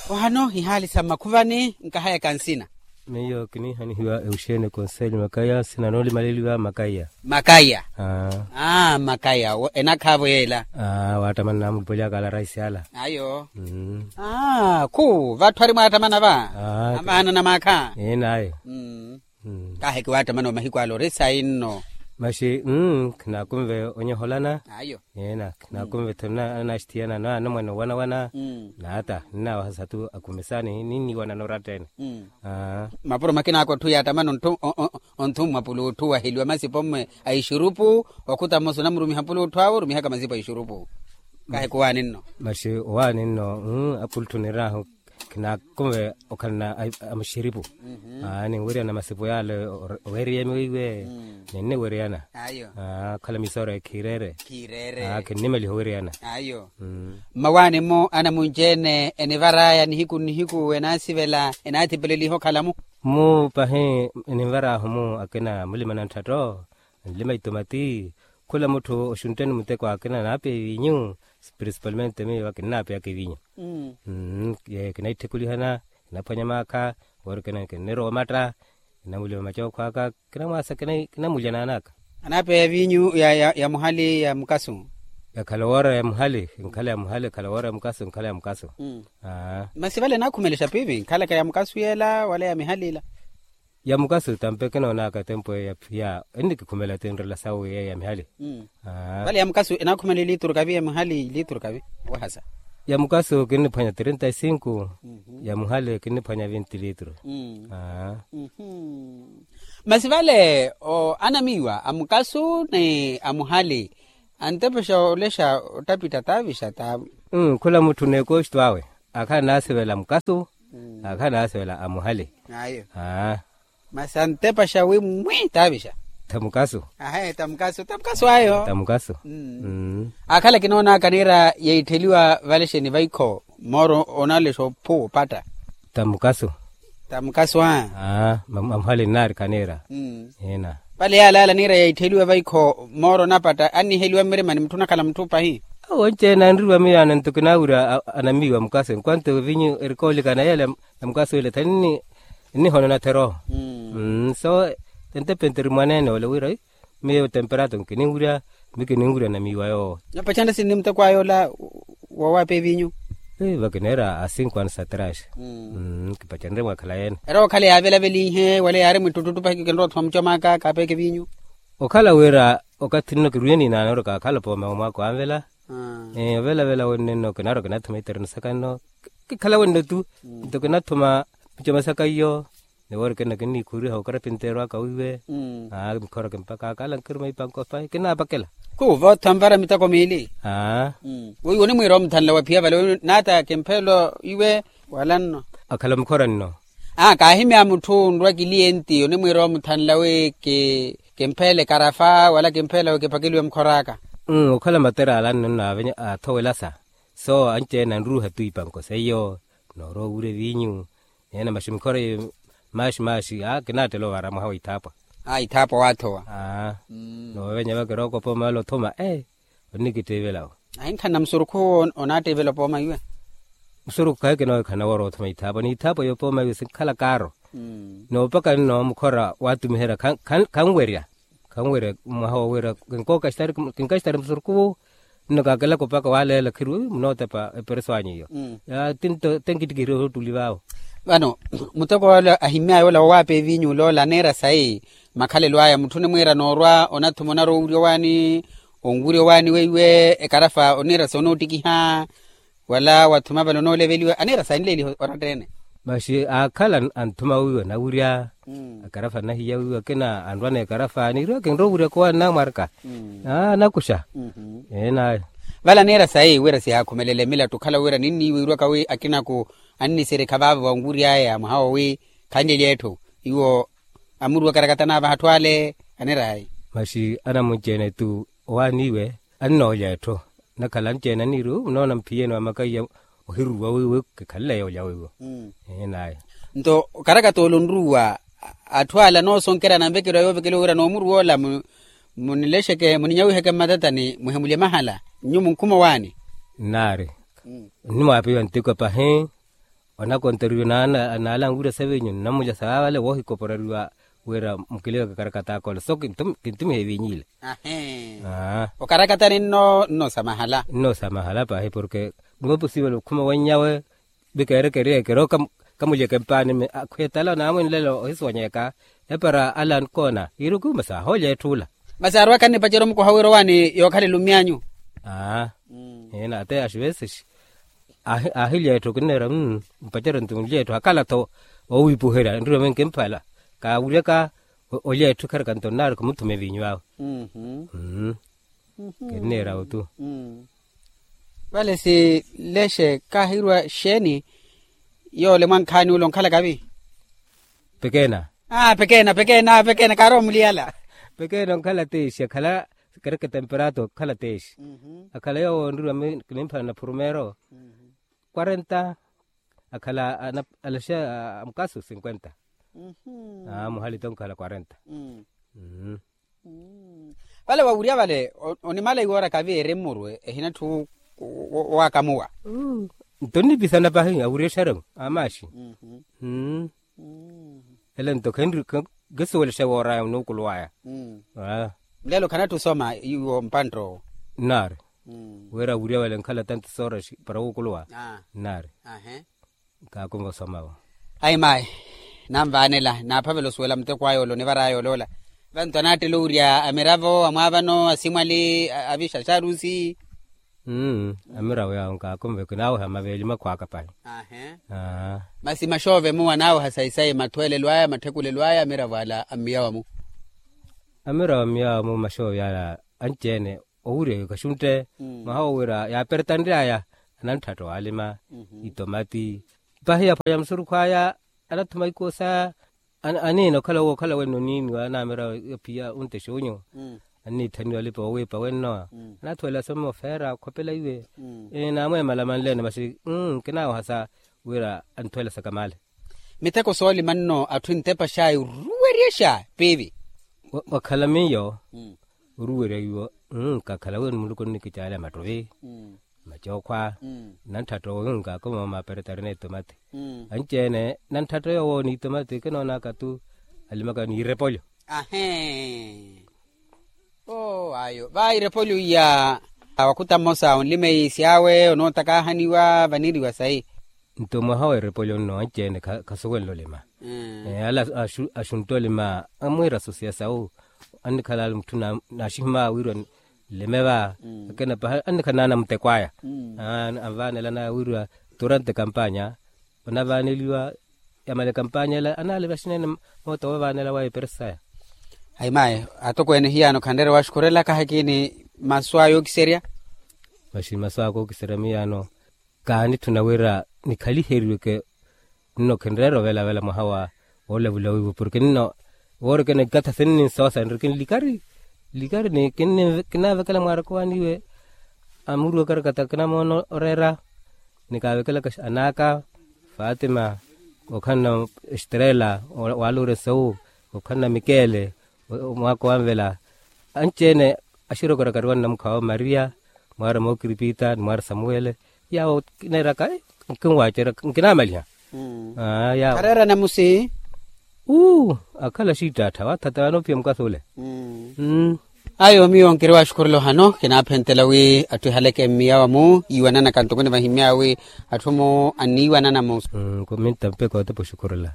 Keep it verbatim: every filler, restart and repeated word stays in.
Ohano ihaali sa mmakhuvani nkahayaka nsina. Miyo kiniihanihiwa euxeene konselho makaya sina noolimaleliwa makaya. Makaya. Aa makaya enakhaavo yeela. Aa waattamana naamulupwelyaaka ala raisi ala. Ayo. Khu vatthu ari mwaattamana va. Amaana na maakha. Enayo. Kaaheke waattamana omahiku ala ori sayi nno. Maxi khinaakunve onyoholana. Ayo. Eena khinaakunve tho ananaaxithiyana anamwane owanawana. Naata ninnaawahasa tu akumesani ninniiwanana oratta-ene. Mapuro makinaaka otthu yaattamana ontthummwa pulutthu waheliwa masipo mmwe a ixurupu. Okhuta mmosa onamurumiha pulutthu awe orumihaka masipo a ixurupu. Kaaheke owaani nno. Maxi owaani nno. Apulutthu niraahu khinaakunve okhalana a muxiripu. Aani nweriyana masipo yaale oweriyami weiwe. Ninniweriyana. Okhala misooro ekhiireere. Khinnimaliha oweriyana. Mmawaani-mo anamunci-ene enivar'aya nihiku nnihiku enaasivela enaathipeleliha okhala-mu. Mu pahi eninvar'ahu-mu akina mulima na ntthatto. Nlima itomati. Khula mutthu oxuntteni muteko akina naapeya evinyu. Principalmente miyo akinnapeyaka evinyu. Kinaitthikulihana kinaphwanya maakha. Wori kina kinnirowa omatta. Kinamulima macookho aka kinamwaasa kinamulya naan'aka. Anaapeya evinyu ya muhali ya mukasu. Ekhala woora ya muhali. Enkhala ya muhali ekhala woora ya mukasu enkhala ya mukasu. Masi vale enaakhumelexa piivi enkhalaka ya mukasu yeela wala ya mihali ila? Ya mukasu tampe kinoonaka tempo eya phiya ennikikhumela tinrela sawe yeya ya mihali. Vale ya mukasu enaakhumela ilituru kavi ya mihali ilituru kavi? Wahasa. Ya mukasu kinniphwanya trinta y cinco. Ya muhali kinniphwanya vinti litru. Masi vale anamiiwa a mukasu ni a muhali antepexa olexa ottapitta taavixa taavu. Khula mutthu n'ekoxito awe akhala naasivela mukasu. Akhala naasivela a muhali. Ayo. Masi antepaxa wi mwi taavixa. Tamukasu. Ahe tamukasu tamukasu ayo tamukasu. Akhala kinoonaka niira yeittheliwa valexeni vaikho mooro onalexa ophuwa opatta. Tamukasu. Tamukasu a. Amuhali nnaarikha niira. Ina. Vale yaalaala niira yeittheliwa vaikho mooro onapatta anniheliwa mmirimani mutthu onakhala mutthu pahi. Awo onci-ene anriwa miyo ana nto kinaawira anamiiwa mukasu enkwanto evinyu erikoolikana yeela. Namukasuwele thanini nnihona onathera oho. So entepenteri mwaneene ole wira miyo temperato nkininwirya. Mi kininwirya namiiwa yoowo. Napachanre sinni muteko ayo ola wawaape evinyu. Vakineera a cinco anos atrás. Kipachanre mwakhala yeene era okhala yaavelavelinhe wala yaari mwittuttuttu pahi kikinrowa othuma mucomaka kaapeeke evinyu. Okhala wira okathi nno kirwiye ni naanooreka akhala opooma omwaka owanvela. Ovelavela wenno nno kinaarwa kinathuma itereno saka nno kikhala wenno tu. Nto kinathuma michoma saka iyo. Ni woori kinno kinniikhuriha okarapinteerwaka wiiwe. Mikhora kimpakaaka ala nkiruma ipanko pahi kinnaapakela. Khuwo vootha nvara miteko miili. Weiwe onimwiira omuthanla waphiya vale naata kimpheelo iwe wala nno. Akhala mukhora nno. Kaahimya mutthu nrwa kilienti onimwiira omuthanla wi kimpheele karafa wala kimpheele wi kipakeliwe mukhor'aka. Okhala matera ala nno nnaavenya athowelasa. So anci-ene anruuha tu ipanko seiyo noorowa owurya evinyu. Neene maxi mikhora iyo maxi maxi a kinaattela ovaara mwaha wa ithaapwa. A ithaapwa waathowa. Noovenya vakira okopa omaala othuma ee. Onnikittiivela wo. Ahinkhanna musurukhu owo onaattiivela opooma iwe. Musurukhu khayi kinoohikhana woora othuma ithaapwa ni ithaapwa yopooma iwe sinkhala kaaro. Noopaka nno mukhora waattumiherya khanwerya. Khanwerya mwaha wowira kinkookaxitari kinkaaxitari musurukhu. Nno kaakelaka opaka waaleela khiriwe munootepa epereso anyu iyo. Tinto tenkittikihiriwe ottuli vaawo. Vano muteko ole ahimy'aya ola wowaape evinyu oloola aneera sayi makhalelo aya mutthu onimwiira noorwa onathuma onarowa owurya owaani. Onwurya owaani weiwe ekarafa oniira sonoottikiha wala wathuma vale onooleveliwa aniira sayi nileeliha oratta-ene. Maxi aakhala anthuma wiiwe nawurya. Akarafa nahiya wiiwe akina anrwa n'ekarafa niiriwa kinrowa owurya kowaani namwarika. Nakuxa. Eenayo. Vale aniira sayi wira sihaakhumelele milattu okhala wira ninniiwiirwaka wi akinaku annisirikha vaavo vanwury'aya mwaha wowi khanlelye etthu iwo. Amuruwa karakata naavaha atthu ale aniira sayi. Maxi anamunci-ene tu owaaniiwe annoolya etthu. Nakhala anci-ene aniiri munoona mphiyeni wa makaiya ohiruruwa wiiwe kikhaleleya olya wiiwe. Nto okarakata ole onruwa atthu ala noosonkerya ananvekeriwa yoovekeliwa wira noomuruwa ola munilexeke muninyawiheke mmatatani muhemulye mahala. Nyu munkhuma owaani nnaari. Nnimwaapiwa ntiko pahi. Onakonteriwa naala anwira savinyu nnamulya sa vavale woohikoporeriwa wira mukiliveke karakata akola so kintumiha evinyu ile. Okarakatani nno nnosamahala nnosamahala pahi porke nnopusiwela okhuma wannyawe. Vikeerekeryeke ero kamulyeke mpaani akhwetala naamwenlela ohisonyeka epara ala ankoona iruku masi ahoolya etthu ula. Masi arwaka nnipacerya omukoha wira owaani yookhalela omyanyu. Aa ina ate axivesexi aahilya etthu kinneera mpacerya nto nlya etthu akhala-tho owiipuherya nrurame nkimphala kaawuryaka olya etthu kharika nto nnaari khumuthuma evinyu awe. Kinneera otu. Vale si lexe kaahirwa xeeni yoole mwankhaani ule onkhalaka vi? Pekeena. Aa pekeena pekeena pekeena kaarowa muliyala. Pekeena onkhala teexi akhala kereke temperato okhala teexi akhala yoowo onririwa kinimphana na phurumeero kwarenta akhala alaxe amukasu sinkwenta. Aa muhali tonkhala kwarenta. Vale wawurya vale onimala iwoora kavi eri mmurwe ehina atthu owakamuwa. Nto nnipisana pahi awurya exeremu amaxi. Ele nto kisuwela exewooraya onuukuluwaya. Mulelo khanatthi osoma iwo mpantta owo. Nnaari wira awurya vale nkhala tanto sooraxi para wuukuluwa. Nnaari nkaakumva osoma vo. Ayi mayi nanvaanela naaphavela osuwela muteko aya ole onivaraya ole ola. Vantu anaattela owurya amiravo amwaavano asimwali avixaxarusi. Amiravo yaawo nkaakumva ekinaaweha maveeli makhwaaka pahi. Masi maxoove muwo anaaweha sayi sayi mathweelelo aya matthekulelo aya amiravo ala a mmiyawa mu. Amiravo a mmiyawa mu maxoove ala anci-ene owurya yookaxuntte mwaha wo wira yaaperetanry'aya anantthatta owaalima itomati. Pahi yaphwanya musurukhu aya anathuma ikuwo saya aniina okhala owo okhala wenno oniiniwa anaamira ophiya ontexa onyu anniithaniwa alipa oowiipa wenno anaathuwela somo ofeera okhopela iwe. Naamweemala manleene masi nkinaawahasa wira anthwelasaka male. Miteko soolima nno atthu entepa xaayi oruweryexa piivi. Wakhala miyo oruwerya iwo nkakhala wino muluku onnikicaala mattuvi macookhwa nantthata owo nkaakumva maperetari n'etomati anci-ene nantthata yoowo n'itomati kinoonaka tu alimaka n'irepolyo. Ahee oo ayo va irepolyo iya wakhuta mmosa onlima iisi awe onootakaahaniwa vaniriwa sayi. Nto mwaha w'erepolyo nno anci-ene khasuwenle olima. Ala axuntta olima amwiira asosiya sawu annikhala ali mutthu naaxihimaya wirwa nlime va akina paha annikhala naana muteko aya anvaanela nawe wirwa turante kampanya onavaaneliwa yamale kampanya ela anaali vaxinene moota woovaanela wa eperesi saya. Ayi mayi atokweene hiyaano khanreera waxukhurela kahakiini masu aya ookiserya. Maxi masu aka ookiserya miyaano kaanitthuna wira nikhaliheriweke nno khinreera ovelavela mwaha wa woolavula wiivo porke nno woorikene ikatha sinninsoosa nrikini likari likari ni kinnaavekela mwaaraka owaaniwe amuruwaka rakata kinamoona oreera. Nikaavekelaka anaaka fatima okhanna estrela waluure sowu okhanna mikele omwaaka owanvela anci-ene axirokorakariwa nnamukhawo maria mwaari mookiripita ni mwaari samuwele yaawo kineeraka nkinwaacerya nkinaamaliha. Yaawo khareera namusi uu akhala xiittattha waathatha waanoophiya mukasi ole. Ayo miyo nkiri waxukhurela ohano kinaaphentela wi atthu ehaleke mmiyawa-mu yiiwananaka ntoko nivahimyaya wi atthu-mu anniiwanana mu. Nkumintta mpekha otepa oxukhurela.